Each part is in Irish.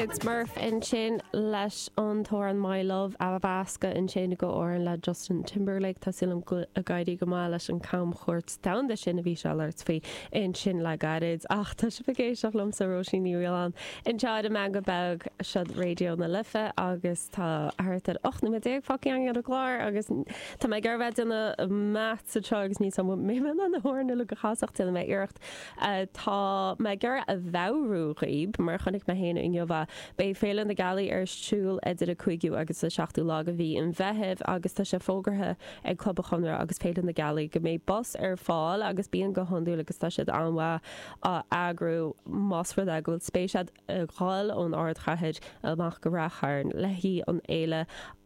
David Murph ansin leis an t-amhrán My Love a mheascadh ansin go amhrán le Justin Timberlake. Tá súil agam go ag éirí go maith leis an camchuairt domhanda sin a bhí sé ag labhairt faoi ansin le gairid. Ach tá sibh ag éisteacht liomsa, Róisín Ní Fhaoláin, anseo ar an Meangadh Beag, seod Raidió na Life agus tá thart ar 18 nóiméad fágtha againn ar an gclár agus tá mé ag iarraidh bheith ag déanamh maths anseo agus níl 's agam an mbeidh mé in ann na hamhráin uilig a chasadh ach déanfaidh mé iarracht. Tá mé ag iarraidh a mheabhrú dhaoib, mar a chonaic mé féin inniu é, beidh Féile na Gealaí ar siúl idir an 5ú agus an 7ú lá de mhí an Mheithimh agus tá sé fógartha ag Club an Chonradh agus Féile na Gealaí go mbeidh bus ar fáil agus bíonn go hiondúil agus tá siad an-mhaith á eagrú más rud é go bhfuil spéis agat a dhul ón ardchathair amach go Rath Chairn le haghaidh an fhéile.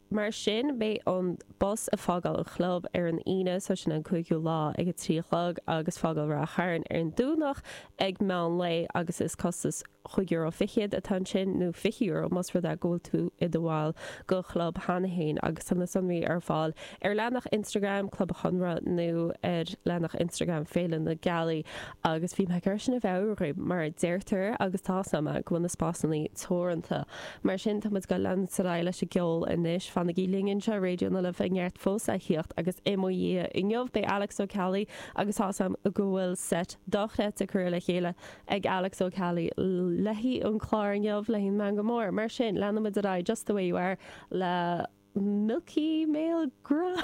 Mar sin, beidh an bus ag fágáil an chlub ar an Aoine, so sin an 5ú lá, ag a 3 a chlog agus fágáil Rath Chairn ar an Domhnach ag meán lae agus is costas €5 fichead atá ansin, nó €20 más rud é go bhfuil tú i do bhall den chlub cheana féin agus tá na sonraí ar fáil ar leathanach Instagram Club an Chonradh nó ar leathanach Instagram Féile na Gealaí agus bhí mé ag iarraidh sin a mheabhrú dhaoibh mar deirtear agus tá 's agam go bhfuil na spásanna teoranta. Mar sin, tá muid ag dul leanúint ar aghaidh leis an gceol anois. Fanaigí linn anseo ar Raidió na Life, neart fós le thíocht agus i mo dhiaidh inniu beidh Alex Ó Ceallaigh agus tá 's agam go bhfuil seit dochreidte curtha le chéile ag Alex Ó Ceallaigh le haghaidh an clár inniu, le haghaidh an Meangadh Mór. Mar sin, leanfaidh muid ar aghaidh Just the Way You Are le Milky Mail Grub.